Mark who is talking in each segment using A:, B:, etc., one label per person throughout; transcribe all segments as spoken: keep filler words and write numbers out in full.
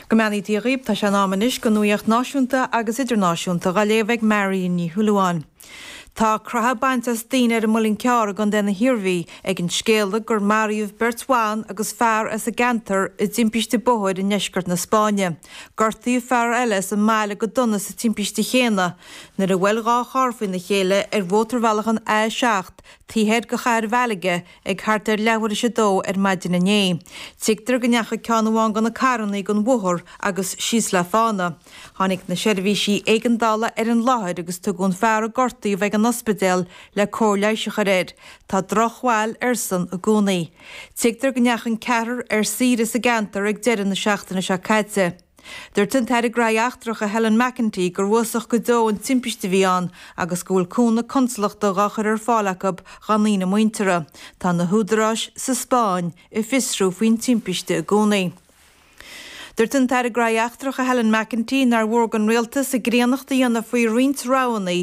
A: Go mbeannaí Dia dhaoibh, tá sé in am anois don nuaíocht náisiúnta agus idirnáisiúnta dhá léamh ag Marion Ní Shúilleabháin. Tá croitheadh bainte as daoine ar an Muileann Cearr i gContae na hIarmhí ag an scéala gur maraíodh beirt bhan agus fear as an gceantar i dtimpiste bóthair i ndeisceart na Spáinne. Gortaíodh fear eile as an mbaile go dona sa timpiste chéanna nuair a bhuail dhá charr faoina chéile ar mhótarbhealach an A seacht taobh thoir de chathair Mhalaga ag thart ar leathuair théis a dó ar maidin inné. Tuigtear go ndeachaigh ceann amháin de na carranna den bhóthar agus síos le fána. Tháinig na seirbhísí éigeandála ar an láthair agus tugadh an fear a gortaíodh ag an ospidéal le cóir leighis a chur air. Tá drochbhail airsean i gcónaí. Tuigtear go ndeachaigh an ceathrar ar saoire sa gceantar ag deireadh na seachtaine seo caite. Dúirt an tAire Gnóthaí Eachtracha Helen McEntee gur uafásach go deo an timpiste a bhí ann agus go bhfuil cúnamh consalachta dhá chur ar fáil acu dá ndaoine muinteartha. Tá na húdaráis sa Spáinn ag fiosrú faoin timpiste i gcónaí. Dúirt an tAire Gnóthaí Eachtracha Helen McEntee nár mhór don rialtas a gcríonnacht a dhéanamh faoi roinnt roghanna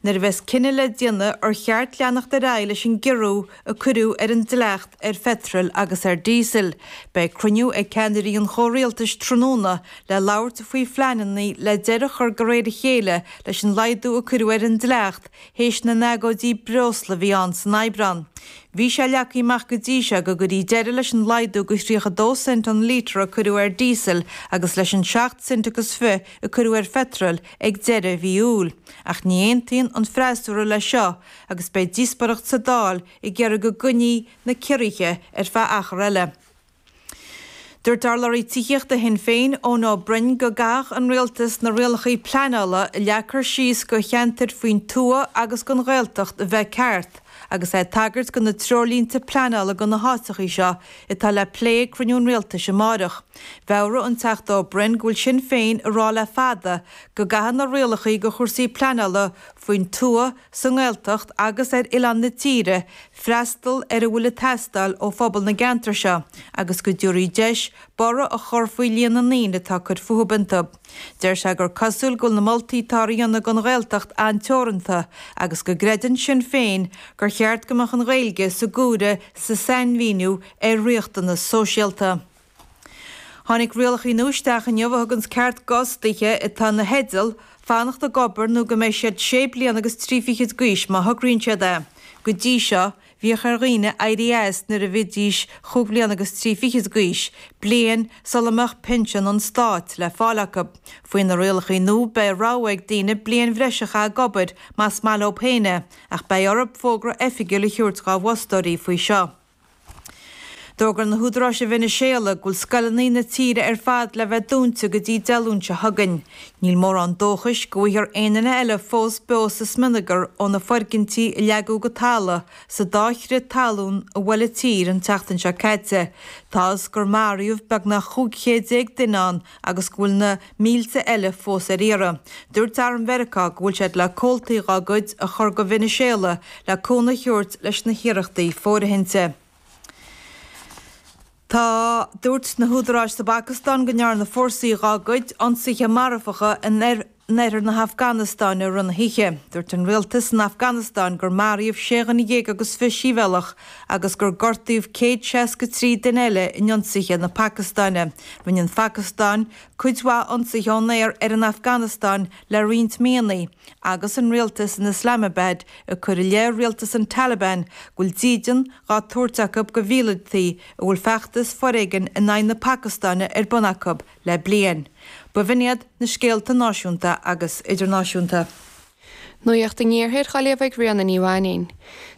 A: nuair a bheas cinneadh le déanamh ar cheart leanacht ar aghaidh leis an gciorrú a cuireadh ar an dleacht ar pheitreal agus ar díosal. Beidh cruinniú ag ceannairí an chomhrialtais tráthnóna le labhairt faoi phleananna le deireadh a chur de réir a chéile leis an laghdú a cuireadh ar an dleacht théis na n-agóidí breosla a bhí ann san Aibreán. Bhí sé leagtha amach go dtí seo go gcuirfí deireadh leis an laghdú go tríocha dó cent an lítear a cuireadh ar díosal agus leis an seacht cent agus fiche a cuireadh ar pheitreal ag deireadh mhí Iúil. Ach ní aontaíonn an freasúra leis seo agus beidh díospóireacht sa Dáil ag iarraidh go gcoinneofaí na ciorruithe ar feadh achar eile. Dúirt urlabhraí tithíochta Shinn Féin Eoin Ó Broin go gcaithfeadh an rialtas na rialacha pleanála a leagtar síos do cheantair faoin tuath agus don Ghaeltacht a bheith ceart, agus é ag tagairt do na treoirlínte pleanála do na háiteacha seo atá le plé ag cruinniú an rialtais amárach. Mheabhraigh an Teachta Ó Broin go bhfuil Sinn Féin ag rá le fada go gcaithfidh na rialacha do chúrsaí pleanála faoin tuath, sa nGaeltacht agus ar oileán na tíre freastal ar a bhfuil ag teastáil ó phobal na gceantar seo agus go dtabharfaí deis borradh a chur faoi líon na ndaoine atá ag cur fúthu iontu. Deir sé gur cosúil go bhfuil na moltaí atá á dhéanamh don Ghaeltacht an-teoranta agus go gcreideann Sinn Féin gur cheart go mbeadh an Ghaeilge sa gcomhaireamh sa sainmhíniú ar riachtanas sóisialta. Tháinig rialacha nua isteach inniu a thugann ceart d'fhostaithe atá ina theideal fanacht ag obair nó go mbeidh siad sé bliana agus trí fichid d'aois má thograíonn siad é. Go dtí seo, bhíodh ar dhaoine éirí as nuair a bhídís chúig bliana agus trí fichid d'aois, bliain sula mbeadh pinsean an stáit le fáil acu. Faoi na rialacha nua beidh rogha ag daoine bliain bhreise a chaitheamh ag obair más maith leo féin é, ach beidh orthu fógra oifigiúil a thabhairt dá bhfostóirí faoi seo. D'fhógair na húdaráis i Veiniséala go bhfuil scoileanna na tíre ar fad le bheith dúnta go dtí Dé Luain seo chugainn. Níl mórán dóchais go bhfaighfear aon duine eile fós beo sa smionagar ó na foirgintí a leagadh go talamh sa dá chrith talún a bhuail an tír an tseachtain seo caite. Tá fhios gur maraíodh beagnach chúig chéad déag duine ann agus go bhfuil na mílte eile fós ar iarraidh. Dúirt Arm Mheiriceá go bhfuil siad le comhaltaí dá gcuid a chur go Veiniséala le cúnamh a thabhairt leis na hiarrachtaí fóirithinte. Tá dúirt na húdaráis sa bPacastáin go ndearna fórsaí dá gcuid ionsaithe marfacha in oirthear na hAfganastáine i rith na hoíche. Dúirt an rialtas san Afganastáin gur maraíodh sé dhuine dhéag agus fiche sibhialtach agus gur gortaíodh céad seasca trí duine eile in ionsaithe na Pacastáine. Rinne an Phacastáin cuid mhaith ionsaithe ón aer ar an Afganastáin le roinnt míonna, agus an rialtas in Islamabad ag cur i leith rialtas an Taliban go bhfuil dídean dhá tabhairt acu do mhíleataigh a bhfuil feachtas foréigin in aghaidh na Pacastáine ar bun acu le bliain. B'in iad na scéalta náisiúnta agus idirnáisiúnta.
B: Nuacht an Iarthair á léamh ag Ríona Ní Mhainín.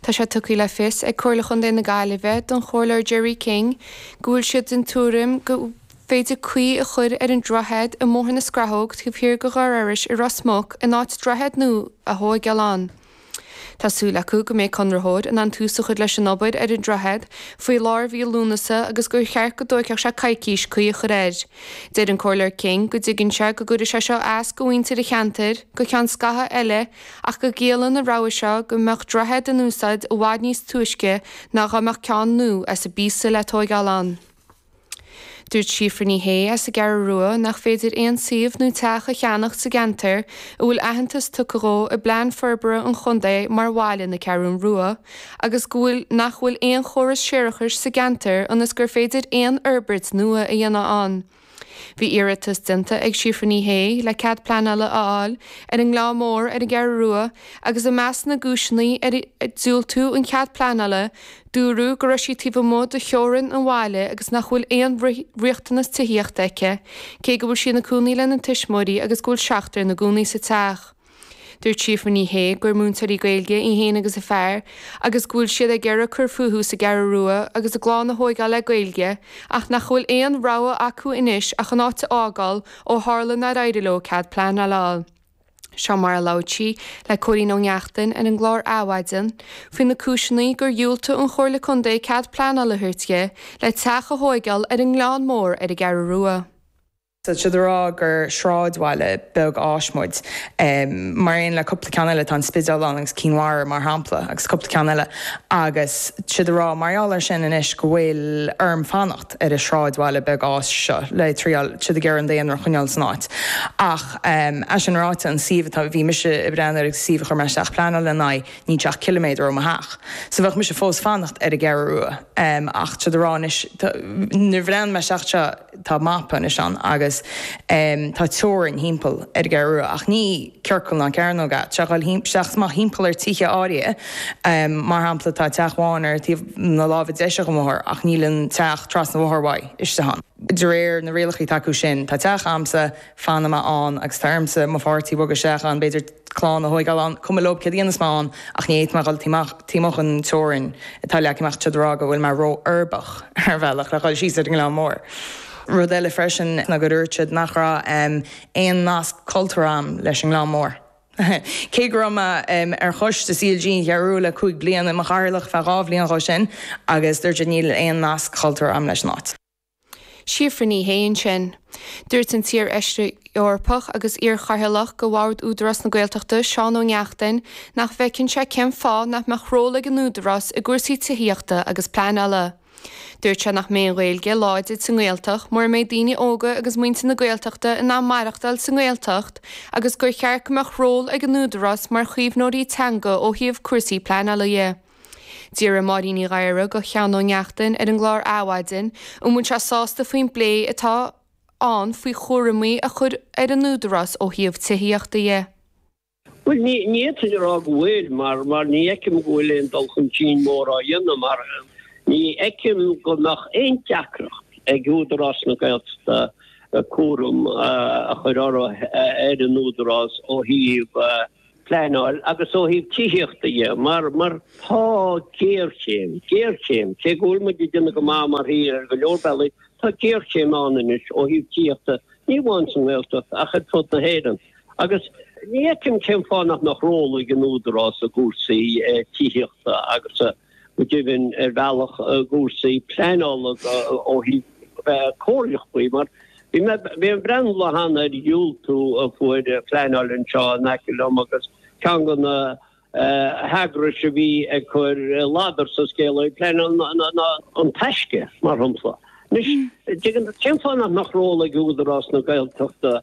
B: Tá sé tugtha le fios ag Comhairle Chontae na Gaillimhe don Chomhairleoir Gerry King go bhfuil siad den tuairim gur féidir caoi a chur ar an droichead i mBóthar na Scrathóg taobh thiar de Dhoire Iorrais i Ros Muc in áit droichead nua a thógáil ann. Tá súil acu go mbeidh conraitheoir in ann tús a chur leis an obair ar an droichead faoi lár mhí Lúnasa agus gur cheart go dtógfadh sé coicís caoi a chur air. Deir an Comhairleoir King go dtuigeann sé go gcuirfidh sé seo as do mhuintir an cheantair go ceann scaitheamh eile ach go gciallaíonn an rogha seo go mbeadh droichead in úsáid i bhfad níos túisce ná dá mbeadh ceann nua as an bpíosa le tógáil ann. Dúirt Síofra Ní Shé as an gCeathrú Rua nach féidir aon suíomh nó teach a cheannacht sa gceantar a bhfuil aitheantas tugtha dhó i bplean forbartha an chontae mar bhaile na Ceathrún Rua agus go bhfuil nach bhfuil aon chóras séarachais sa gceantar ionas gur féidir aon fhorbairt nua a dhéanamh ann. Bhí iarratas déanta ag Síofra Ní Shé le cead pleanála a fháil ar an nGleann Mór ar an gCeathrú Rua agus i measc na gcúiseanna ar diúltaíodh an cead pleanála, dúradh go raibh sí taobh amuigh de theorainn an bhaile agus nach bhfuil aon riachtanas tithíochta aici, cé go bhfuil sí ina cónaí lena tuismitheoirí agus go bhfuil seachtar ina gcónaí sa teach. Dúirt Síofra Ní Shé gur múinteoirí Gaeilge í féin agus a fear agus go bhfuil siad ag iarraidh cur fúthu sa gCeathrú Rua agus a gclann a thógáil le Gaeilge ach nach bhfuil aon rogha acu anois ach an áit a fhágáil ó tharla nár éirigh leo cead pleanála a fháil. Seo mar a labhair sí le Cóilín Ó Neachtain ar an gclár Adhmhaidin faoi na cúiseanna gur dhiúltaigh an Chomhairle Contae cead pleanála a thabhairt di le teach a thógáil ar an nGleann Mór ar an gCeathrú Rua.
C: Tá siad ag rá gur sráidbhaile beag áis muid. Mar aon le cúpla ceann eile, tá an Spidéal ann agus Cinn Mhara mar shampla agus cúpla ceann eile agus tá siad ag rá mar gheall air sin anois go bhfuil orm fanacht ar an sráidbhaile beag áis seo le triail, tá siad ag iarraidh an daonra a choinneáil san áit. Ach é sin ráite, an suíomh atá, bhí mise ag breathnú air agus suíomh a chuir mé isteach pleanáil ina aghaidh, níl sé ach ciliméadar ó mo theach. So bheadh mise fós fanacht ar an gCeathrú Rua. Ach tá siad ag rá anois, nuair a bhreathnaigh mé isteach seo, tá mapa anois ann agus tá teorainn thimpeall ar an gCeathrú Rua ach ní ciorcal ná cearnóg é, tá sé ag dul isteach amach thimpeall ar tithe áirithe. Mar shampla tá teach amháin ar taobh na láimhe deise den bhóthar ach níl an teach trasna an bhóthair uaidh istigh ann. De réir na rialacha atá acu sin, tá teach a'msa, fanfaidh mé ann agus tá ormsa mo pháirtí a bhogadh isteach ann, b'fhéidir clann a thóigeáil ann, cuma leob céard a dhéanfas mé ann ach ní fhéadfaidh mé dhul taobh amuigh den teorainn atá leagtha amach, tá siad ag rá go bhfuil mé ró-uirbeach ar bhealach le dhul síos ar an nGleann Mór. Rud eile freisin ná gur dúirt siad nach raibh aon nasc cultúrtha a'm leis an nGleann Mór. Cé go raibh mé ar choiste C L G an Cheathrú Rua le cúig bliana, i mo chathaoirleach feadh dhá bhliain dhó sin agus dúirt siad níl aon nasc cultúrtha a'm leis an áit.
B: Síofra Ní Shé ansin. Dúirt an t-iar-fheisire Eorpach agus iar-chathaoirleach de Bhord Údarás na Gaeltachta, Seán Ó Neachtain, nach bhfeiceann sé cén fáth nach mbeadh ról ag an Údarás i gcúrsaí tithíochta agus pleanála. Dúirt sé nach mbeidh an Ghaeilge láidir sa nGaeltacht mura mbeidh daoine óga agus muintir na Gaeltachta in ann maireachtáil sa nGaeltacht agus gur cheart go mbeadh ról ag an Údarás mar chaomhnóirí teanga ó thaobh cúrsaí pleanála dhe. D'fhiafraigh Máirín Ní Ghadhra de Sheán Ó Neachtain ar an gclár Adhmhaidin an bhfuil sé sásta faoin bplé atá ann faoi chúraimí a chur ar an Údarás ó thaobh tithíochta dhe.
D: Bhuel, ní fhéadfainn a rá go bhfuil, mar mar ní fheicim go bhfuil aon dul chun cinn mór á dhéanamh, mar ní fheicim go mbeadh aon deacracht ag Údarás na Gaeltachta cúram a chur orthu ar an Údarás ó thaobh pleanáil agus ó thaobh tithíochta dhe, mar mar tá géarchéim, géarchéim, cé go bhfuil muid ag déanamh go maith mar thír ar go leor bealaí, tá géarchéim ann anois ó thaobh tithíochta, ní amháin sa nGaeltacht ach ar fud na hÉireann. Agus ní fheicim cén fáth nach mbeadh ról ag an Údarás i gcúrsaí tithíochta agus go deimhin ar bhealach i gcúrsaí pleanála ó thaobh bheith comhairleach faoi, mar bhí mé bhí mé ag breathnú lá cheana ar dhiúltú a fuair pleanáil anseo in aice liom agus ceann de na heagrais a bhí ag cur ladar sa scéal ag pleanáil ná An Taisce, mar shampla. Anois, tuigeann tú, cén fáth nach mbeadh ról ag Údarás na Gaeltachta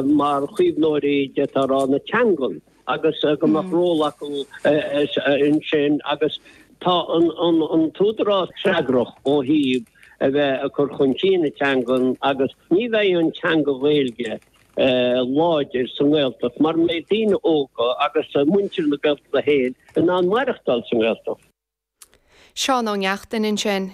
D: mar chaomhnóirí, d'fhéadfá a rá, na teangan agus go mbeadh ról acu ansin agus tá an t-údarás freagrach ó thaobh a bheith ag cur chun cinn na teangan agus ní bheidh an teanga Ghaeilge láidir sa nGaeltacht mura mbeidh daoine óga agus muintir na Gaeltachta féin in ann maireachtáil sa nGaeltacht.
B: Seán Ó Neachtain ansin.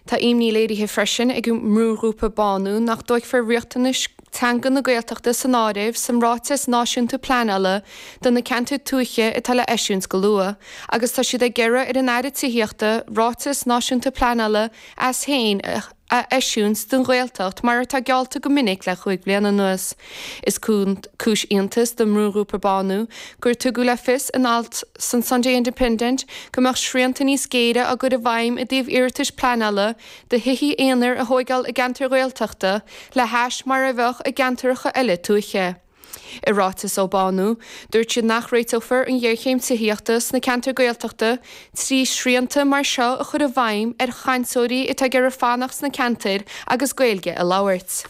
B: Tá imní léirithe freisin ag an mbrúghrúpa Bánú nach dtógfar riachtanais teanga na Gaeltachta san áireamh san ráiteas náisiúnta pleanála do na ceantair tuaithe atá le eisiúint go luath, agus tá siad ag iarraidh ar an Aire Tithíochta ráiteas náisiúnta pleanála as féin a eisiúint don Ghaeltacht mar atá geallta go minic le cúig bliana anuas. Is cúis iontais don mbrúghrúpa Bánú gur tugadh le fios in alt san Sunday Independent go mbeadh srianta níos géire á gcur i bhfeidhm i dtaobh iarratais pleanála do thithe aonair a thóigeáil i gceantair Ghaeltachta le hais mar a bheadh i gceantracha eile tuaithe. I ráiteas ó Bánú, dúirt siad nach réiteofar an ghéarchéim tithíochta sna ceantair Gaeltachta trí shrianta mar seo a chur i bhfeidhm ar chainteoirí atá ag iarraidh fanacht sna ceantair agus Gaeilge a labhairt.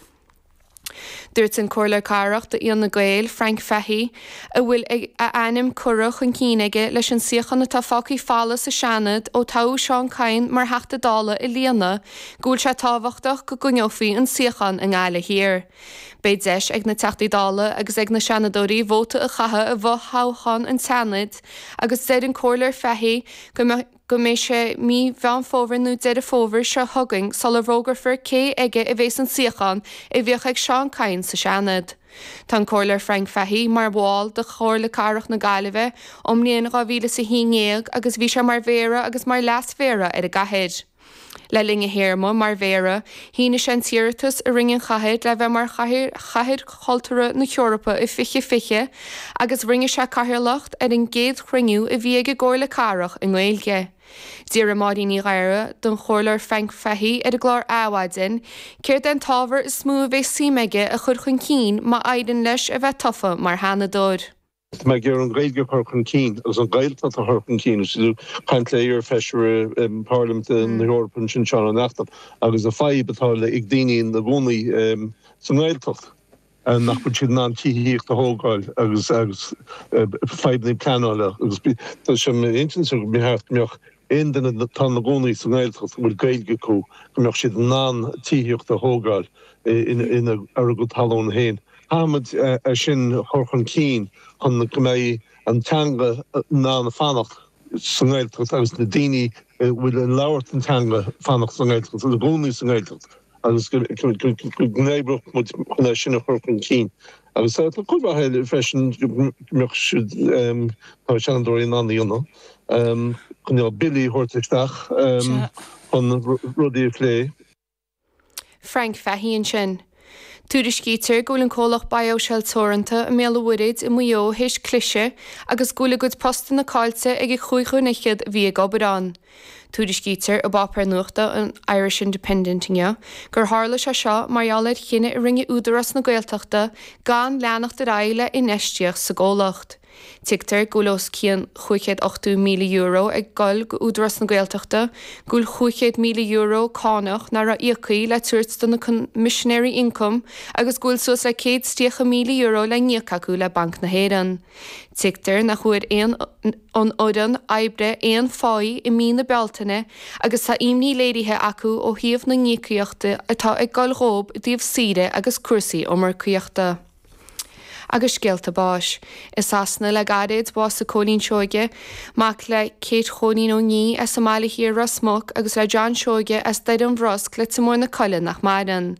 B: Dúirt an Comhairleoir Cathrach d'Fhine Gael, Frank Fahey, a bhfuil a ainm curtha chun cinn aige leis an suíochán atá fágtha folamh sa Seanad ó toghadh Seán Kyne mar Theachta Dála a líonadh, go bhfuil sé tábhachtach go gcoinneofaí an suíochán i nGaillimh Thiar. Beidh deis ag na Teachtaí Dála agus ag na Seanadóirí vóta a chaitheamh i bhfothoghchán an tSeanaid agus deir an Comhairleoir Fahey go mbeidh go mbeidh sé mí Mheán Fómhair nó Deireadh Fómhair seo chugainn sula bhfógrófar cé aige a bheas an suíochán a bhíodh ag Seán Kyne sa Seanad. Tá an Comhairleoir Frank Fahey mar bhall de Chomhairle Cathrach na Gaillimhe ón mbliain dhá mhíle is a haon déag agus bhí sé mar mhéara agus mar leas-mhéara ar an gcathair. Le linn a théarma mar mhéara, shínigh sé an t-iarratas a rinne an chathair le bheith mar Chathair Chathair Chultúrtha na hEorpa i fiche fiche agus rinne sé cathaoirleacht ar an gcéad chruinniú a bhí ag an gComhairle Cathrach i nGaeilge. D'fhiafraigh Máirín Ní Ghadhra den Chomhairleoir Frank Fahey ar an gclár Adhmhaidin céard é an t-ábhar is mó a bheidh suim aige a chur chun cinn má éiríonn leis a bheith tofa mar Sheanadóir.
E: Tá mé ag iarraidh an Ghaeilge a chur chun cinn agus an Ghaeltacht a chur chun cinn. Is tú ag caint le iar-fheisire Parlaiminte na hEorpa ansin, Seán Ó Neachtain, agus an fadhb atá ag daoine ina gcónaí sa nGaeltacht, nach bhfuil siad in ann tithíocht a thógáil agus agus fadhbanna pleanála agus tá sé m'intinn go mbeadh go mbeadh aon duine atá ina gcónaí sa nGaeltacht a bhfuil Gaeilge acu go mbeadh siad in ann tithíocht a thógáil ina ar a gcuid talún féin. Caithfimid é sin a chur chun cinn chun go mbeidh an teanga in ann fanacht sa nGaeltacht agus na daoine a bhfuil ag labhairt an teanga fanacht sa nGaeltacht agus i gcónaí sa nGaeltacht agus go n-oibreodh muid chun é sin a chur chun cinn. Agus tá cuid mhaith eile freisin go mbeadh siad, tá seanadóirí in ann a dhéanamh, cineál billí a thabhairt isteach chun rudaí a phlé.
B: Frank Fahey ansin. Tuairiscítear go bhfuil an comhlacht BioShell Teoranta i mBéal an Mhuirthead i Maigh Eo théis cliseadh agus go bhfuil a gcuid postanna caillte ag an chúig dhuine fhichead a bhí ag obair ann. Tuairiscítear i bpáipéar nuachta an Irish Independent inniu gur tharla sé seo mar gheall ar chinneadh a rinne Údarás na Gaeltachta gan leanacht ar aghaidh le infheistíocht sa gcomhlacht. Tuigtear go bhfuil os cionn chúig chéad ochtó míle euro ag goil go Údarás na Gaeltachta, go bhfuil chúig chéad míle euro cánach nach raibh íoctha le tabhairt do na Coimisinéirí Ioncaim agus go bhfuil suas le céad is tríocha míle euro le n-íoc acu le Banc na hÉireann. Tuigtear nach bhfuair aon an fhoireann oibre aon pháí i mí na Bealtaine agus tá imní léirithe acu ó thaobh na n-íocaíochtaí atá ag goil dhóibh i dtaobh saoire agus cúrsaí iomarcaíochta. Agus scéalta báis. I Sasana le gairid, bhásaigh Cóilín Seoige, mac le Kate Chóilín Ó Nia as an mBaile Thiar, Ros Muc, agus le John Seoige as Doire an Bhrosc, Leitir Móir na Coille nach maireann.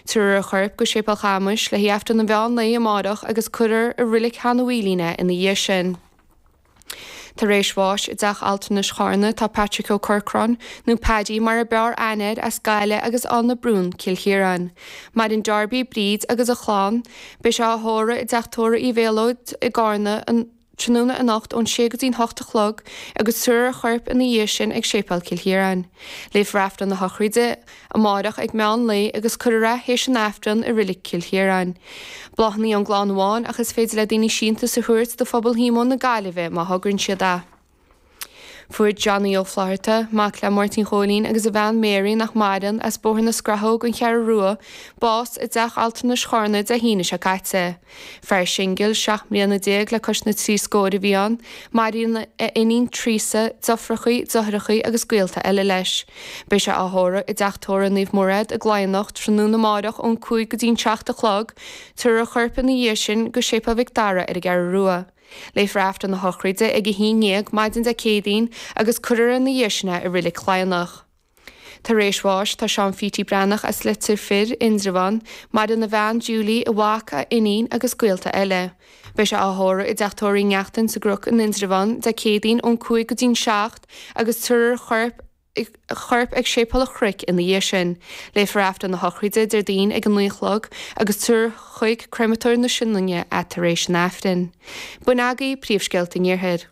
B: Tabharfar a chorp go Séipéal Chamais le haghaidh Aifreann an mheán lae amárach agus cuirfear i Reilig Sheán Uí Mhaoilín é ina dhiaidh sin. Tar éis bháis i dTeach Altranais Charna tá Patrick Ó Corcráin, nó Paddy mar a b'fhearr aithne air, as Gaillimh agus Áth na Brún, Cill Chiaráin. Maireann Darby, Bríd agus a chlann. Beidh sé á thórramh i dTeach Tórraimh Uí Mhéalóid i gCarna an tráthnóna anocht ón sé go dtí'n hocht a chlog agus tabharfar a chorp ina dhiaidh sin ag Séipéal Chill Chiaráin. Léifear Aifreann na sochraide amárach ag meán lae agus cuirfear é théis an Aifrinn i Reilig Chill Chiaráin. Bláthanna ón gclann amháin ach is féidir le daoine síntiús a thabhairt do Phobal Shíomóin na Gaillimhe má thograíonn siad é. Fuair Johnny Ó Flatharta, mac le Máirtín Chóilín agus a bhean Mary nach maireann, as Bóthar na Scrathóg, An Cheathrú Rua, bás i dTeach Altranais Charna Dé hAoine seo caite. Fear singil, seacht mbliana déag le cois na trí scór a bhí ann. Maireann a iníon Teresa, deirfiúrachaí, deartháireachaí agus gaolta eile leis. Beidh sé á thórramh i dTeach Tórraimh Naomh Mairéad i gCladhnach tráthnóna amárach ón cúig go dtí'n seacht a chlog. Tabharfar a chorp ina dhiaidh sin go Séipéal Mhic Dara ar an gCeathrú Rua. Léifear Aifreann na sochraide ag a haon dhéag maidin Dé Céadaoin agus cuirfear ina dhiaidh sin é i Reilig Chladhnach. Tar éis bháis tá Seán Phítí Breathnach as Leitir Fir, Indreabhán, maireann a bhean Julie, a mhac, a iníon agus gaolta eile. Beidh sé á thórramh i dTeach Tórraimh Uí Neachtain sa gCnoc in Indreabhán Dé Céadaoin ón cúig go dtí'n seacht agus tabharfar a chorp a chorp ag Séipéal an Chnoic ina dhiaidh sin. Léifear Aifreann na sochraide Déardaoin ag a naoi a chlog agus tabharfar chuig Créamatóir na Sionainne é tar éis an Aifrinn. B'in agaibh príomhscéalta an Iarthair.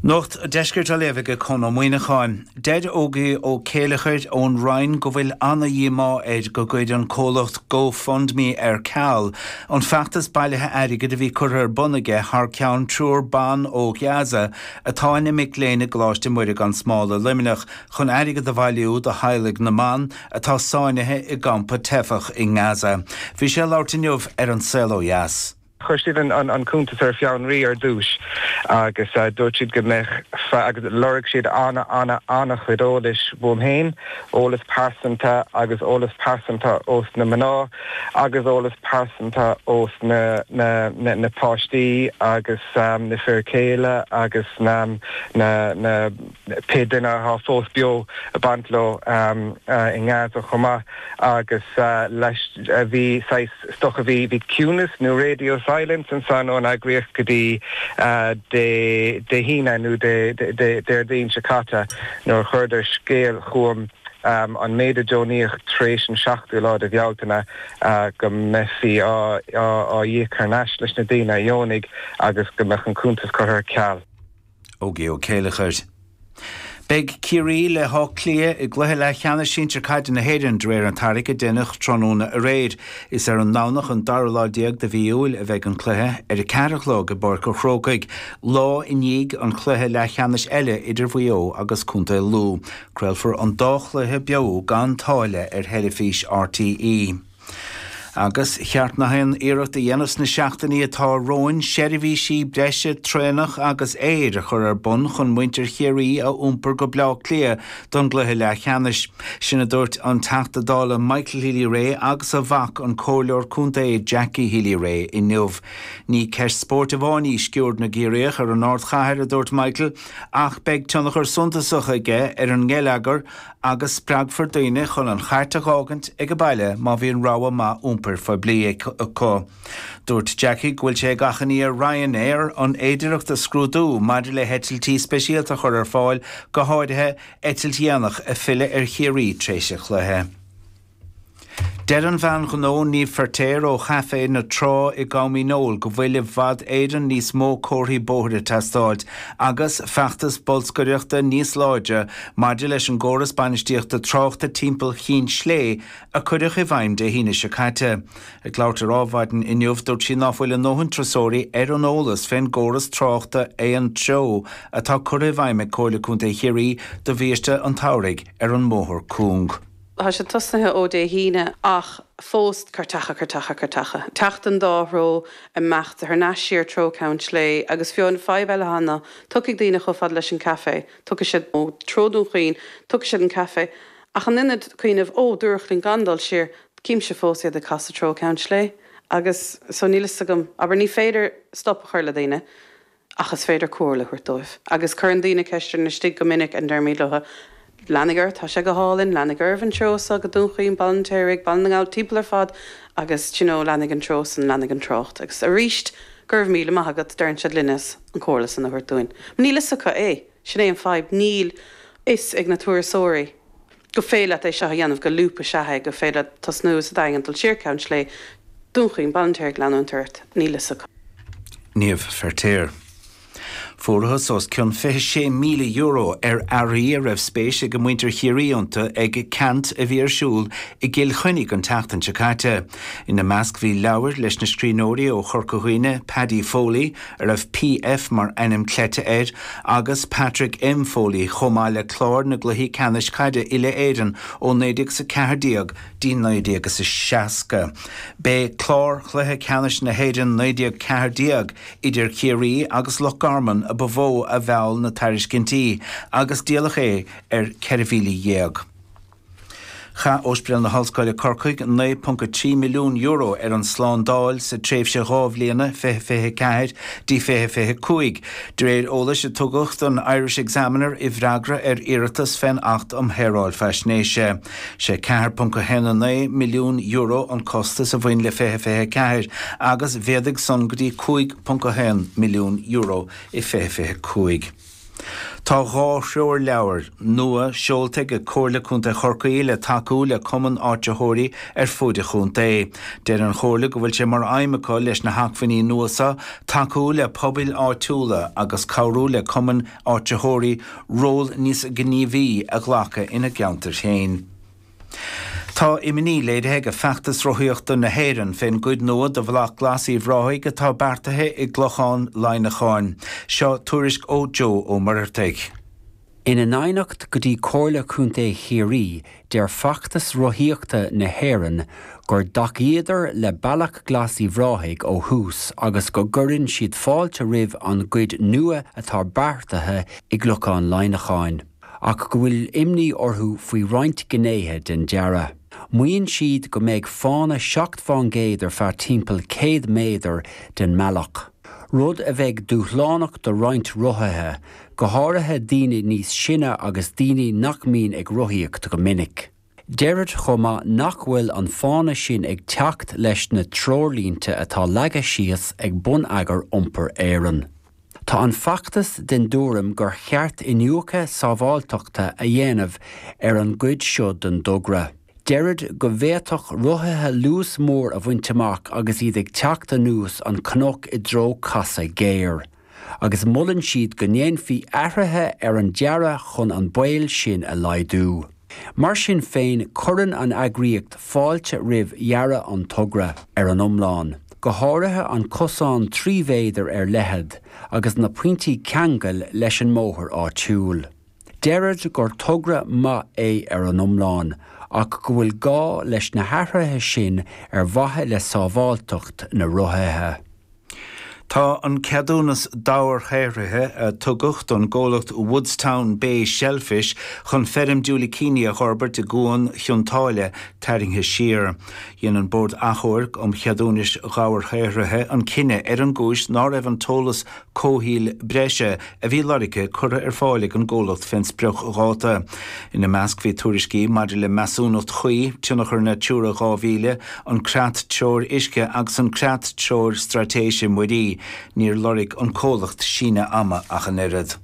F: Nuacht an Deiscirt á léamh ag Conn Ó Muíneacháin. Deir Ógie Ó Céileachair ón Rinn go bhfuil ana-dhíomá air go gcuir an comhlacht GoFundMe ar ceal an feachtas bailithe airgid a bhí curtha ar bun aige thar ceann triúr ban ó Ghaza atá ina mic léinn i gColáiste Muire gan Smál i Luimneach chun airgead a bhailiú do theaghlaigh na mban atá sáinnithe i gcampa teifeach i nGaza. Bhí sé ag labhairt inniu ar An Saol Ó Dheas.
G: Chuir siad an cuntas ar fionraí ar dtús agus dúirt siad go mbeadh agus lorg siad ana ana an-chuid eolais uaim féin, eolas pearsanta agus eolas pearsanta ós na mná agus eolas pearsanta ós na na na na páistí agus um, na fir céile agus na na na pé duine atá fós beo a baint leo um, uh, i nGaza chomh maith agus uh, leis uh, bhí stocha bhí bhí ciúnas nó radio silence ansan ón eagraíocht go dtí uh, Dé Dé hAoine nó Déardaoin seo caite nuair chuireadar scéal chugam um, an méid a deonaíodh tar éis an seachtú lá de Bhealtaine uh, go mbeifí á íoc thar n-ais leis na daoine a dheonaigh agus go mbeadh an cuntas curtha ar ceal.
F: Ógie Ó Céileachair. Beidh Ciarraí le hÁth Cliath i gcluiche leathcheannais sinsir caide na hÉireann de réir an tarrac a deineadh tráthnóna aréir. Is ar an nDomhnach an dara lá déag de mhí Iúil a bheidh an cluiche ar a ceathair a chlog i bPáirc an Chrócaigh, lá i ndiaidh an chluiche leathcheannais eile idir Mhaigh Eo agus Contae Lú. Craolfar an dá chluiche beo gan táille ar theilifís RTÉ. Agus cheart nach aon iarracht a dhéanamh sna seachtainí atá romhainn seirbhísí breise traenach agus aeir a chur ar bun chun muintir Chiarraí a iompar go Bleá Cliath don gcluiche leathcheannais. Sin a dúirt an Teachta Dála Michael Healy-Rae agus a mhac an Comhairleoir Contae Jackie Healy-Rae inniu. Ní ceist spóirt amháin í sciuird na gCiarraíoch ar an ardchathair a dúirt Michael, ach beidh tionchar suntasach aige ar an ngeilleagar agus spreagfar daoine chun an chairt a dh'fhágaint ag baile má bhíonn rogha maith iompair phoiblí acu. Dúirt Jackie go bhfuil sé ag achainí ar Ryanair an fhéidearthacht a scrúdú maidir le heitiltí speisialta a chur ar fáil, go háirithe eitilt dhéanach ag filleadh ar Chiarraí tar éis an chluiche. Deir an bhean ghnó Niamh Feirtéar ó Chaifé na Trá i gCom Dhíneol go bhfuil i bhfad Éireann níos mó comharthaí bóthair ag teastáilt agus feachtas bolscaireachta níos láidre maidir leis an gcóras bainistíochta tráchta timpeall Chinn Slé a cuireadh i bhfeidhm Dé hAoine seo caite. Ag labhairt ar Adhmhaidin inniu dúirt sí ná fuil a ndóthain turasóirí ar an eolas fén gcóras tráchta aon treo atá curtha i bhfeidhm ag Comhairle Contae Chiarraí do bhiaiste an tsamhraidh ar an mbóthar cúng.
H: Tá sé tosnaithe ó Dé hAoine ach fós cairteacha cairteacha cairteacha. Teacht an dá threo imeacht thar n-ais siar treo Ceann Slé agus fiú an fadhb eile cheana, tiocfaidh daoine chomh fada leis an café, tiocfaidh siad ó treo Dún Chaoin, tiocfaidh siad an café, ach in ionad cuimhneamh ó dúradh linn gan dul siar, címse fós iad ag casadh treo Ceann Slé agus so níl fhios agam, abair ní féidir stop a chur le daoine. Ach is féidir comhairle a thabhairt dóibh. Agus cuireann daoine ceist orainn istigh go minic and deirimid leo, Leanaigí oraibh, tá sé go hálainn, leanaigí oraibh an treo seo go Dún Chaoin, Baile an Fheirtéaraigh, Baile na nGall, timpeall ar fad agus you know, leanaigí an treo san, leanaigí an trácht. Agus arís, go raibh míle maith agat, deireann siad linn as an chomhairle san a thabhairt dúinn. Níl fhios acu é, sin é an fadhb, níl fhios ag na turasóirí go féidir leat é seo a dhéanamh go lúpa sea é, go féidir leat tosnú sa Daingean dul siar Ceann Slé, Dún Chaoin, Baile an Fheirtéaraigh, leanúint ort, níl fhios acu.
F: Niamh Feirtéar. Fuarthas os cionn fiche sé míle euro ar earraí a raibh spéis ag muintir Chiarraí iontu ag ceant a bhí ar siúl i gCill Chainnigh an tseachtain seo caite. Ina measc bhí leabhair leis na scríbhneoirí ó Chorca Dhuibhne, Paddy Foley, a raibh PF mar ainm cleite air, agus Patrick M Foley chomh maith le clár na gcluichí ceannais caide uile-Éireann ó naoi déag is a ceathair déag dtí naoi déag is a seasca. B'é clár chluiche ceannais na hÉireann naoi déag ceathair déag idir Ciarraí agus Loch Garman a ba mhó a mheall na tairiscintí agus díoladh é ar ceithre mhíle dhéag. Chaith Ospidéal na hOllscoile Corcaigh naoi ponc a trí milliún euro ar an slándáil sa tréimhse dhá bhliana, fiche fiche a ceathair dtí fiche fiche a cúig, de réir eolais a tugadh don Irish Examiner i bhfreagra ar iarratas fén Acht um Shaoráil Faisnéise. Sé ceathair ponc a haon a naoi milliún euro an costas a bhain le fiche fiche a ceathair agus mhéadaigh san go dtí cúig ponc a haon milliún euro i fiche fiche a cúig. Tá Tá dhá threoirleabhar nua seolta ag Comhairle Contae Chorcaí le tacú le cumainn áitritheoirí ar fud an chontae. Deir an Chomhairle go bhfuil sé mar aidhm acu leis na hacmhainní nua seo tacú le pobail áitiúla agus cabhrú le cumainn áitritheoirí ról níos gníomhaí a ghlacadh ina gceantar féin. Tá imní léirithe ag Feachtas Rothaíochta na hÉireann fén gcuid nua de Bhealach Glas Uíbh Ráthaigh atá beartaithe i gClochán Laighneacháin. Seo tuairisc ó Joe Ó Muircheartaigh.
I: Ina n-aighneacht go dtí Comhairle Contae Chiarraí, deir Feachtas Rothaíochta na hÉireann gur dtacaíodar le Bealach Glas Uíbh Ráthaigh ó thús agus go gcuireann siad fáilte roimh an gcuid nua atá beartaithe i gClochán Laighneacháin, ach go bhfuil imní orthu faoi roinnt gnéithe den dearadh. Maíonn siad go mbeidh fána seacht fán gcéad ar feadh timpeall céad méadar den mbealach, rud a bheidh dúshlánach do roinnt rothaithe, go háirithe daoine níos sine agus daoine nach mbíonn ag rothaíocht go minic. Deirid chomh maith nach bhfuil an fána sin ag teacht leis na treoirlínte atá leagtha síos ag Bonneagar Iompair Éireann. Tá an feachtas den dtuairim gur cheart iniúchadh sábháilteachta a dhéanamh ar an gcuid seo den dtogra. Deirid go bhféadfadh rothaithe luas mór a bhaint amach agus iad ag teacht anuas an cnoc i dtreo casadh géar, agus molann siad go ndéanfaí athruithe ar an dearadh chun an baol sin a laghdú. Mar sin féin, cuireann an eagraíocht fáilte roimh dhearadh an togra ar an iomlán, go háirithe an cosán trí mhéadar ar leithead agus na pointí ceangail leis an mbóthar áitiúil. Deirid gur togra maith é ar an iomlán, ach go bhfuil gá leis na hathruithe sin ar mhaithe le sábháilteacht na rothaithe.
F: Tá an ceadúnas dobharshaothraithe a tugadh don gcomhlacht Woodstown Bay Shellfish chun feirm diúilicíní a fhorbairt i gCuan Chionn tSáile tarraingthe siar. Dhein an Bord Achomhairc um Cheadúnais Dhobharshaothraithe an cinneadh ar an gcúis ná raibh an t-eolas comhshaoil breise a bhí lorgtha curtha ar fáil ag an gcomhlacht fén spriocdháta. Ina measc bhí tuairiscí maidir le measúnacht chuí, tionchar Natura dhá mhíle, an Creat-Treoir Uisce agus an Creat-Treoir Straitéise Muirí. Níor lorg an comhlacht síneadh ama ach an oiread.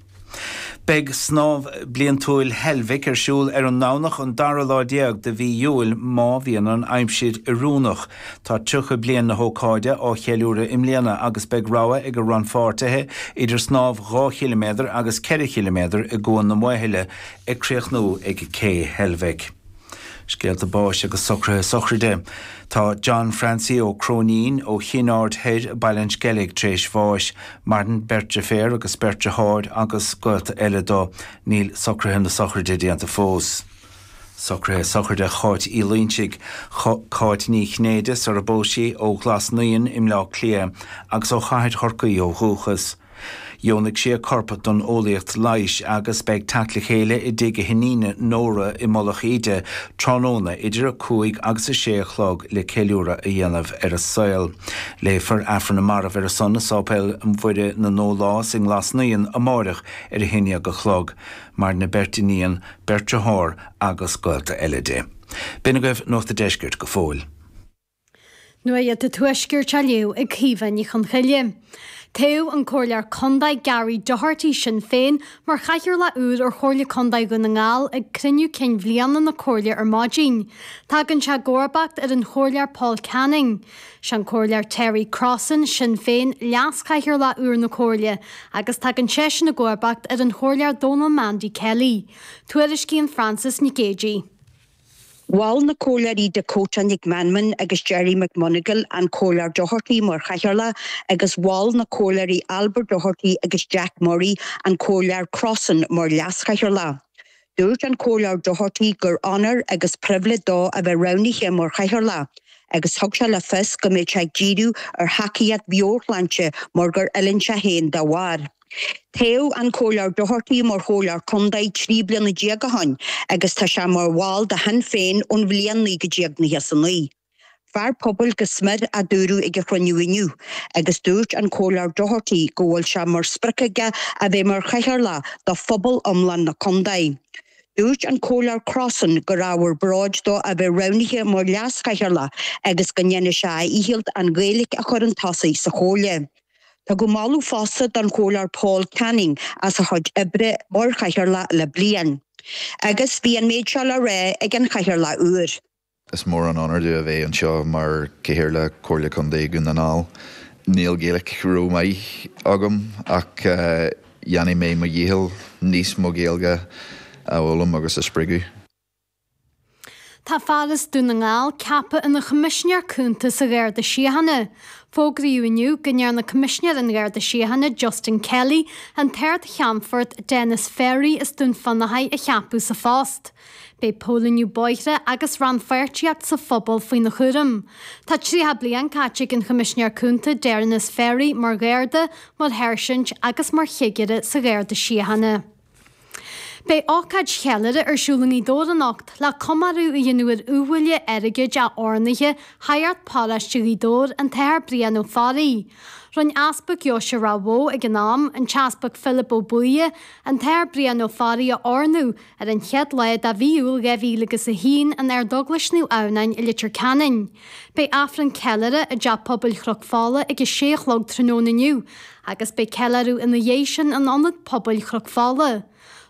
F: Beidh snámh bliantúil Heilbhic ar siúl ar an nDomhnach an dara lá déag de mhí Iúil má bhíonn an aimsir oiriúnach. Tá tríocha bliain na hócáide á cheiliúradh i mbliana agus beidh rogha ag a rannpháirtithe idir snámh dhá chiliméadar agus ceithre chiliméadar i gCuan na Maothaile ag críochnú ag Cé Heilbhic. Scéalta báis agus socruithe sochraide. Tá John Francie Ó Cróinín ó Chinn Aird Thoir, Baile an Sceilg tar éis bháis. Maireann beirt deirféar agus beirt deartháir agus gaolta eile dó. Níl socruithe na sochraide déanta fós. Socruithe sochraide Cháit Uí Loinsigh, Cáit Ní Chinnéide sar a bpós sí ó Ghlas Naíon i mBleá Cliath agus ó Chathair Chorcaí ó dhúchas. Dheonaigh sí a corp don eolaíocht leighis agus beidh teacht le chéile i dtigh a hiníne Nóra i Mullach Íde tráthnóna idir a cúig agus a sé a chlog le ceiliúradh a dhéanamh ar a saol. Léifear Aifreann na Marbh ar a son i Sáipéal Mhuire na nDólás i nGlas Naíon amáireach ar a haon déag a chlog. Maireann a beirt iníon, beirt dearthár agus gaolta eile di. B'in agaibh Nuacht an Deiscirt go fóill.
J: Nuacht an Tuaiscirt á léamh ag Caoimhe Ní Chonchoille. Toghadh an Comhairleoir Contae Gary Doherty, Sinn Féin, mar chathaoirleach úr ar Chomhairle Contae Dhún na nGall ag cruinniú cinn bhliana na Comhairle ar maidin. Tagann sé i gcomharbacht ar an Chomhairleoir Paul Canning. Sé an Comhairleoir Terry Crossan, Sinn Féin, leas-chathaoirleach úr na Comhairle agus tagann seisean i gcomharbacht ar an Chomhairleoir Dónal Mandy Kelly. Tuairiscíonn Frances Nic Géadaigh.
K: Mhol na Comhairleoirí Dakota Nic Meanman agus Gerry McMonagle an Comhairleoir Doherty mar chathaoirleach agus mhol na Comhairleoirí Albert Doherty agus Jack Murray an Comhairleoir Crossan mar leaschathaoirleach. Dúirt an Comhairleoir Doherty gur onóir agus pribhléid dó a bheith roghnaithe mar chathaoirleach agus thug sé le fios go mbeidh sé ag díriú ar thacaíocht mheabhairshláinte mar gur fhulaing sé féin dá bharr. Toghadh an Comhairleoir Doherty mar Chomhairleoir Contae trí bliana déag ó shin agus tá sé mar bhall de Shinn Féin ón bhliain naoi déag nócha is a naoi. Fear pobail go smior a dúradh ag an chruinniú inniu agus dúirt an Comhairleoir Doherty go bhfuil sé mar sprioc aige a bheith mar chathaoirleach do phobal iomlán na contae. Dúirt an Comhairleoir Crossan gur ábhar bróid dó a bheith roghnaithe mar leaschathaoirleach agus go ndéanfaidh sé a dhícheall an Ghaeilge a chur chun tosaigh sa Chomhairle. Tugadh moladh fosta don Chomhairleoir Paul Canning as a chuid oibre mar chathaoirleach le bliain. Agus bhí an méid seo le rá ag an chathaoirleach úr.
L: Is mór an onóir domh a bheith anseo mar Chathaoirleach Comhairle Contae Dhún na nGall. Níl Gaeilge rómhaith agam ach dhéanfaidh mé mo dhícheall níos mó Gaeilge a fhoghlaim agus a spreagadh.
J: Tá fear as Dún na nGall ceaptha ina Choimisinéir Cúnta sa Gharda Síochána. Fógraíodh inniu go ndearna Coimisinéir an Gharda Síochána Justin Kelly an tArd-Cheannfort Denis Ferry as Dún Fionnachaidh a cheapadh sa phost. Beidh póilíniú bóithre agus rannpháirtíocht sa phobal faoina chúram. Tá tríocha bliain caite ag an Choimisinéir Cúnta Denis Ferry mar Gharda, mar sháirsint agus mar chigire sa Gharda Síochána. Beidh ócáid cheiliúrtha ar siúl i nGaoth Dobhair anocht le comóradh a dhéanamh ar iubhaile airgid a oirnithe shagart paróiste Ghaoth Dobhair, an tAthair Brian Ó Fearraigh. Rinne Easpag Dheoise Ráth Bhoth ag an am, an tEaspag Philip Ó Buaidhe, an tAthair Brian Ó Fearraigh a oirniú ar an chéad lá de mhí Iúil dhá mhíle agus a haon in Ardeaglais Naomh Adhamhnáin i Leitir Ceanainn. Beidh Aifreann ceiliúrtha i dTeach Pobail Chnoc Fola ag a sé a chlog tráthnóna inniu agus beidh ceiliúradh ina dhiaidh sin in Ionad Pobail Chnoc Fola.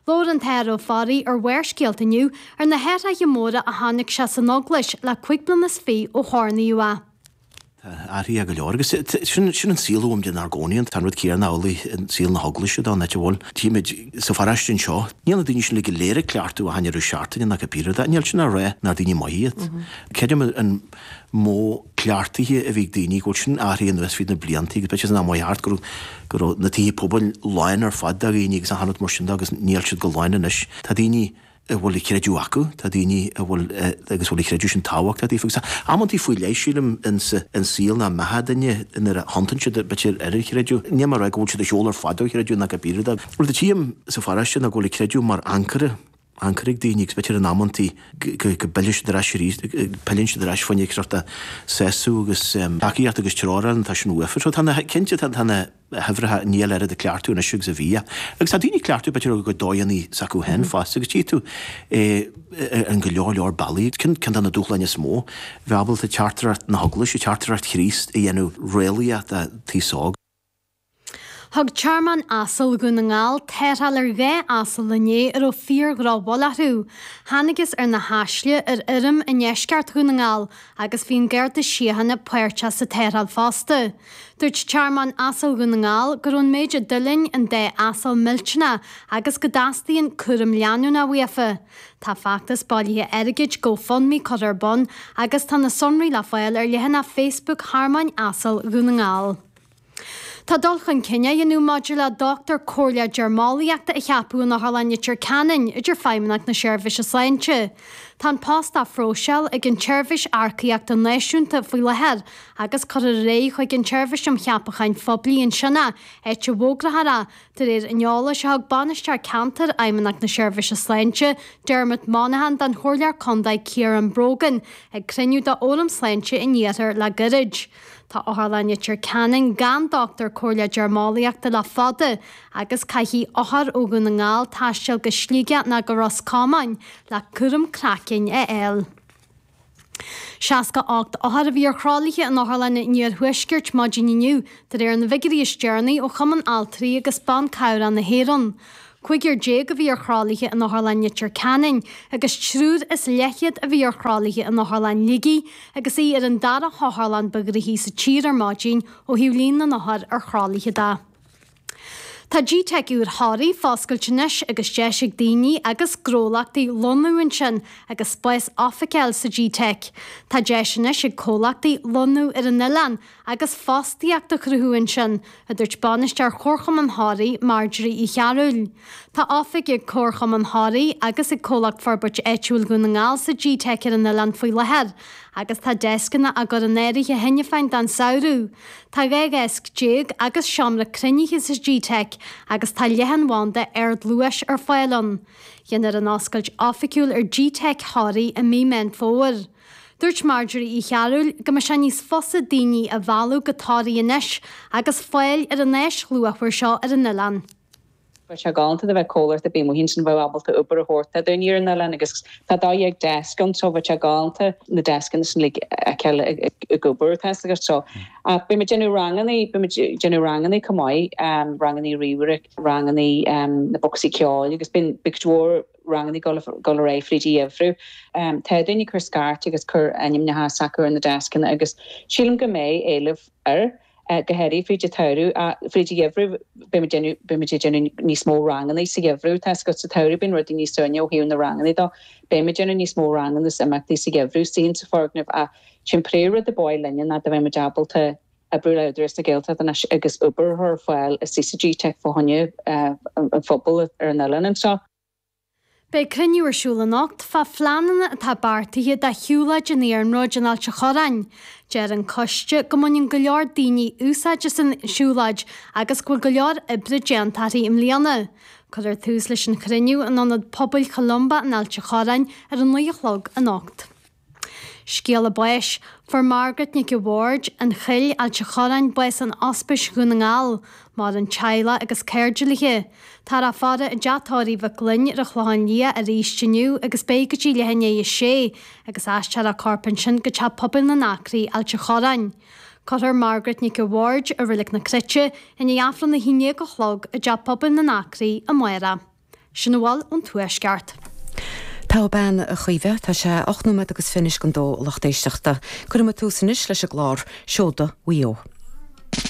J: Labhair an tAthair Ó Fearraigh ar Bharrscéalta inniu ar na hathruithe móra a chonaic sé san Eaglais le cúig bliana is fiche ó hoirníodh é.
M: Tá athraithe go leor agus sin sin an saol a bhfuilimid inár gcónaí ann. Tá an rud céanna amhlaidh i saol na hEaglaise dá n-áit a bhfuil. Tímid sa pharóiste anseo, níl na daoine sin uilig go léir ag cleachtadh achan deireadh seachtaine ná cibé rud é. Níl sin á rá nár daoine maithe iad. Creidim an modh cleachtaithe a bhí ag daoine go bhfuil sin athraithe anuas fríd na blianta agus b'fhéidir san am thart go raibh go raibh na tithe pobail lán ar fad de dhaoine agus achan rud mar sin de agus níl siad go lán anois. Tá daoine a bhfuil a chreideamh acu, tá daoine a bhfuil agus bhfuil a chreideamh sin tábhachtach daofa agus amantaí faoi leith sílim insa an saol ná mbeatha duine nuair a thiontaíonn siad b'fhéidir ar an chreideamh. Níl mé ag rá go bhfuil siad ar shiúl ar fad ó chreideamh ná cibé rud é. Rud a tchím sa pharóiste ná go bhfuil a creideamh mar ancaire ancaire ag daoine agus b'fhéidir in amantaí go bpilleann siad ar ais arís, pilleann siad ar ais fá choinne sórt sásamh agus tacaíocht agus treoir a fháil tá sin uafa. So tá na, cinnte tá na huimhreacha níl oiread ag cleachtadh anois agus a bhí. Agus tá daoine ag cleachtadh b'fhéidir ar a gcuid dóigheanna s'acu féin fosta agus tchí tú in go leor leor bealaí. Ceann de na dúshláin is mó, bheith ábalta teachtaireacht na hEaglaise, teachtaireacht Chríost a dhéanamh réalaíoch don taos óg.
J: Thug Tearmann Asal Dhún na nGall tarrtháil ar dhá asal inné a raibh fíor-dhrochbhail orthu. Thángthas ar na haisle ar fheirm i ndeisceart Dhún na nGall agus bhí an Garda Síochána páirteach sa tarrtháil fosta. Dúirt Tearmann Asal Dhún na nGall go raibh an méid a d'fhulaing an dá asal millteanach agus go dteastaíonn cúram leanúnach uafa. Tá feachtas bailithe airgid GoFundMe curtha ar bun agus tá na sonraí le fáil ar leathanach Facebook Thearmainn Asal Dhún na nGall. Tá dul chun cinn á dhéanamh maidir le dochtúir comhairleach deirmeolaíochta a cheapadh in Otharlann Leitir Ceanainn, a deir Feidhmeannacht na Seirbhíse Sláinte. Tá an post á phróiseáil ag an tSeirbhís Earcaíochta Náisiúnta faoi láthair agus cuirfear ar aghaidh chuig an tSeirbhís um Cheapacháin Phoiblí ansin é, áit a bhfógrófar é, de réir an eolais a thug Bainisteoir Ceantair Fheidhmeannacht na Seirbhíse Sláinte, Dermot Monaghan don Chomhairleoir Contae Ciarán Brogan ag cruinniú d'Fhóram Sláinte an Iarthair le gairid. Tá Otharlann Leitir Ceanainn gan dochtúir comhairleach deirmeolaíochta le fada agus caithfidh othair ó Dhún na nGall taisteal go Sligeach nó go Ros Comáin le cúram craicinn a fháil. Seasca ocht othar a bhí ar thralaithe in Otharlann an Iarthuaiscirt maidin inniu, de réir na bhfigiúirí is deireanaí ó Chumann Altraí agus Ban Cabhrach na hÉireann. Cúigear déag a bhí ar thralaithe in Otharlann Leitir Ceanainn agus triúr is leathchéad a bhí ar thralaithe in Otharlann Shligigh agus í ar an dara hotharlann ba ghnoithí sa tír ar maidin ó thaobh líon na n-othar ar thralaithe de. Tá G-Teic úr Thoraí foscailte anois agus deis ag daoine agus gnólachtaí lonnú ansin agus spás oifige a fháil sa G-Teic. Tá deis anois ag comhlachtaí lonnú ar an oileán agus fostaíocht a chruthú ansin, a dúirt bainisteoir Chomharchumann Thoraí, Marjorie Uí Chearúil. Tá oifig ag Comharchumann Thoraí agus ag Comhlacht Forbairt Áitiúil Dhún na nGall sa G-Teic ar an oileán faoi láthair agus tá deascanna á gcur in áirithe cheana féin don samhradh. Tá dhá dheasc déag agus seomra cruinnithe sa G-Teic agus tá leathanbhanda ardluais ar fáil ann. Déanfar an oscailt oifigiúil ar G-Teic Thoraí i mí Meán Fómhair. Dúirt Marjorie Uí Chearúil go mbeidh sé níos fusa daoine a mhealladh go Toraigh anois agus fáil ar an áis luachmhar seo ar an oileán.
N: Bheadh sé galánta dá mbeadh comhlacht ar bith amuigh ansin a bheadh ábalta obair a thabhairt do dhaoine ar an oileán agus tá dó dhéag deasc ann so bheadh sé galánta na deascanna sin uilig a fheiceáil ag obair tá 'fhios agat so. Ach beidh muid déanamh rangannaí, beidh muid déanamh rangannaí chomh maith, rangannaí ríomhaire, rangannaí na bocsaí ceoil agus bíonn cuid mhór rangannaí dul dul ar aghaidh fríd an gheimhreadh. Tá daoine ag cur scairt agus cur ainmneacha s'acu ar na deascanna agus sílim go mbeidh éileamh air. go háirithe fríd an tsamhradh. Fríd an gheimhreadh beidh muid beidh muid ag déanamh níos mó ranganna sa gheimhreadh. Tá 'fhios agat sa tsamhradh bíonn rudaí níos suaimhní ó thaobh na ranganna dó. Beidh muid ag déanamh níos mó ranganna is imeachtaí sa gheimhreadh istigh sa foirgneamh ach sin príomhrud ab áil linne ná dá mbeadh muid ábalta oibriú le Údarás na Gaeltachta anois agus obair a chur ar fáil istigh sa GTeic fá choinne an phobail ar an oileán anseo.
J: Beidh cruinniú ar siúl anocht fá phleananna atá beartaithe do shiúlóid an iarnróid in Ailt an Chorráin. Deir an coiste go mbaineann go leor daoine úsáid as an siúlóid agus go bhfuil go leor oibre déanta uirthi i mbliana. Cuirfear tús leis an chruinniú in Ionad Pobail Cholumba in Ailt an Chorráin ar a naoi a chlog anocht. Scéala báis, Fuair Margaret Nic a' Bhaird, An Chill, Ailt an Chorráin, bás in Ospís Dhún na nGall. Maireann teaghlach agus cairde léi. Táthar á faire i dteach tórraimh Mhic Fhloinn ar an Chlochán Liath arís inniu agus beidh go dtí leath i ndiaidh a sé agus aistreofar a corp ansin go Teach Pobail na nAcraí, Ailt an Chorráin. Cuirfear Margaret Nic a' Bhaird i Reilig na Cruite i ndiaidh Aifreann a haon déag a chlog i dTeach Pobail na nAcraí amárach. Sin a bhfuil ón Tuaisceart.
O: Tá a bean a Chaoimhe, tá sé ocht nóiméad agus fiche anois don dó, a lucht éisteachta. Cuirfidh muid tús anois leis an gclár Seoda Mhaigh Eo.